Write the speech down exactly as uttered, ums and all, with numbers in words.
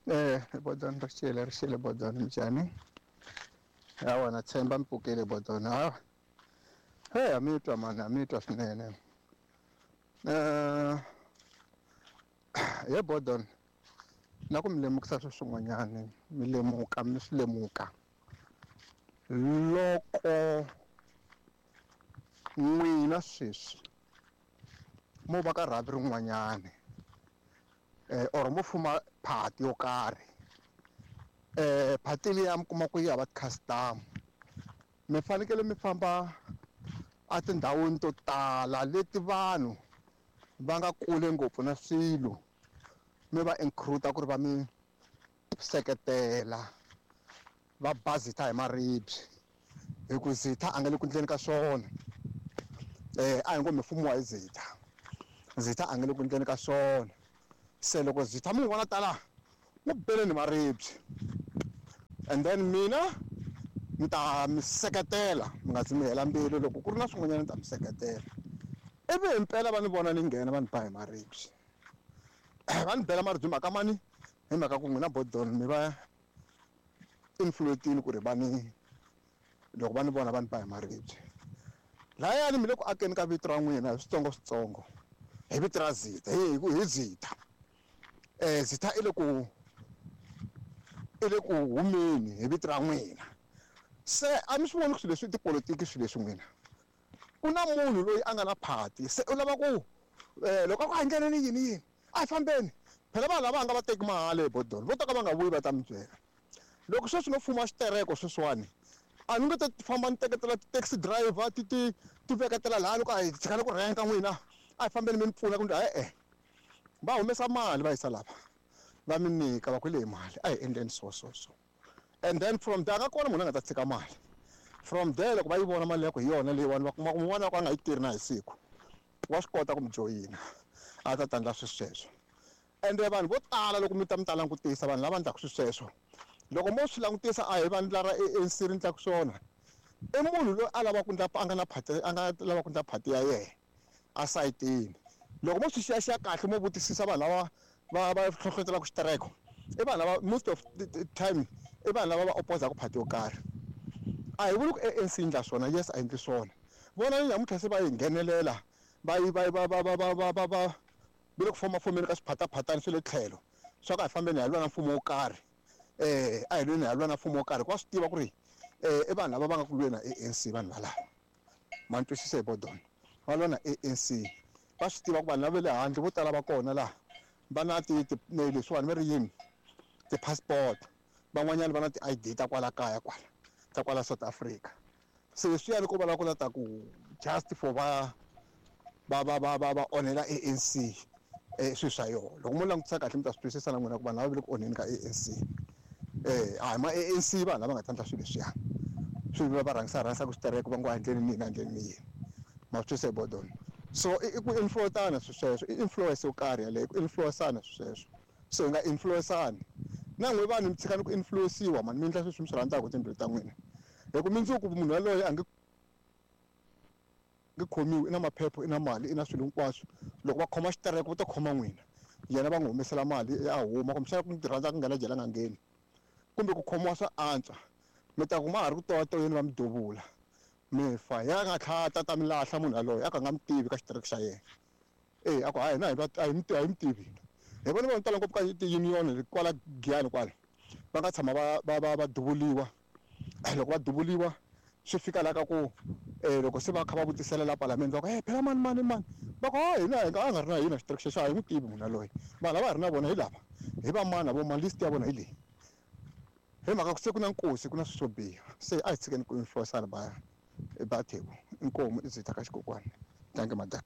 Eh, Bodon ri xile ri xile Bodon minjhani? Hawa na tshemba mi pfukile Bodon. Hawa. Hey, a mi twa mani, a mi twa swinene. Eh, he Bodon, na ku mi lemukisa swi swin'wanyani, mi lemuka mi swi lemuka. Loko n'wina sweswi mo va ka rhavi rin'wanyani eh or mo fuma party yo karhi eh party liya mi kuma ku yi hava ti-customer mi fanekele mi famba a tindhawini to tala leti vanhu va nga kule ngopfu na swilo mi va include ku ri va mi seketela va ba Zitha hi maribye hi ku Zitha a nga le ku endleni ka swona eh a hi ngo mi fumiwa hi Zitha Zitha a nga le ku endleni ka swona se loko Zitha mi n'wi vona tala n'wi beleni maribye and then mina mi ta mi seketela mi nga zi mi hela mbilu loko ku ri na swin'wanyana ni ta mi seketela ivi himpela va ni vona ni nghena va ni ba hi maribye va ni bela maribye mhaka mani hi mhaka ku n'wina Bodon mi va influence-ini ku ri va ni loko va ni vona va ni ba hi maribye layani mi le ku akeni ka vito ra n'wina hi switsongo switsongo hi vito ra Zitha hi hi Zitha eh Zitha i le ku i le ku humeni hi vito ra n'wina se a mi swi voni ku swilo leswi i tipolotiki swilo leswi n'wina ku na munhu loyi a nga na party se u lava ku eh loko a ku a ndleleni yini yini a hi fambeni phela vanhu lava nga va teki mahala hi Bodon vo ta ka va nga vuyi va ta mi byela loko sweswi no fuma xitereko sweswiwani a ni nge te famba ni teketela ti-taxi driver ti ti ti veketela laha loko a hi tshikani ku renka n'wina a hi fambeni mi ni pfuna kumbe e-e va humesa mali va yisa lava va mi nyika va ku leyi mali a hi endleni so so so and then from there a nga kona munhu a nga ta tshika mali from there loko va yi vona mali ya ku hi yona leyiwani va kuma ku un'wana wa ku a nga yi tirhi na hi siku wa swi kota ku mi joyina a ta ta endla swilo sweswo ende vanhu vo tala loko mi ta mi ta langutisa vanhu lava endlaka swilo sweswo loko mo swi langutisa a hi vandla ra A N C ri endlaka swona i munhu loyi a lavaka ku endla a nga na party a nga lava ku endla party ya yena a sayitini loko mo swi xiyaxiya kahle mo vutisisa vanhu lava va va hlohlotelaka xitereko i vanhu lava most of the time i vanhu lava va opposaka party yo karhi a hi vuli ku A N C yi endla swona yes a endli swona vona ni namuntlha se va yi nghenelela va yi va va va va va va va va va le ku fomafomeni ka swiphataphatani swa le tlhelo swa ku a hi fambeni hi lwa na mfumo wo karhi eh a hi lweni hi lwa na mfumo wo karhi ku va swi tiva ku ri eh i vanhu lava va nga ku lweni na A N C vanhu valava ma ni twisisa hi Bodon va lwa na A N C va swi tiva ku vanhu lava va le handle vo tala va kona laha va na ti leswiwani va ri yini ti-passport van'wanyana va na ti-I D ta kwala kaya kwala ta kwala South Africa se leswiyani ko va lava ku la ta ku just for va va va va va va onhela A N C eh swilo swa yona loko mo langutisa kahle mi ta swi twisisa na n'wina ku vanhu lava va le ku onheni ka A N C eh a hi ma A N C vanhu lava nga ta endla swilo leswiya swi va va rhangisa rhangisaka switereko va ngo a endleni ni yini a endleni ni yini ma swi twisisa hi Bodon so i ku influence-ana swilo sweswo i influence yo karhi yaleyo ku influence-ana swilo sweswo so hi nga influence-ani na n'we vanhu mi tshikani ku influence-iwa mani mi endla sweswi mi swi rhandzaka hi timbilu ta n'wina hi ku mundzuku munhu yaloye a nge nge khomiwi i na maphepha i na mali i na swilo hinkwaswo loko va khoma xitereko va ta khoma n'wina yena va n'wi humesela mali a huma kumbexana ku rhandza ku nghena jele a nga ngheni kumbe ku khomiwa swa antswa mi ta ku ma ha ri ku toyatoyeni va mi duvula mi fa ya nga tlhata ta mi lahla munhu yaloye a ka nga mi tivi ka xitereko xa yena e a ku hayi hina a hi mi a hi mi tivi hi vona vanhu tala ngopfu ka ti-union kwala Giyani kwala va nga tshama va va va va duvuliwa loko va duvuliwa swi fika laha ka ku eh loko se va kha va vutisela la palamende va ku eh phela mani mani mani va ku hayi hina hi nga a nga ri na hina xitereko xexo a hi n'wi tivi munhu yaloye vanhu lava hi ri na vona hi lava hi va mani vo mani list ya vona hi leyi hi mhaka ku se ku na nkosi ku na swilo swo biha se a hi tshikeni ku influence-ana ba ba Theko inkomu i Zitha ka xikokwani thank you madam.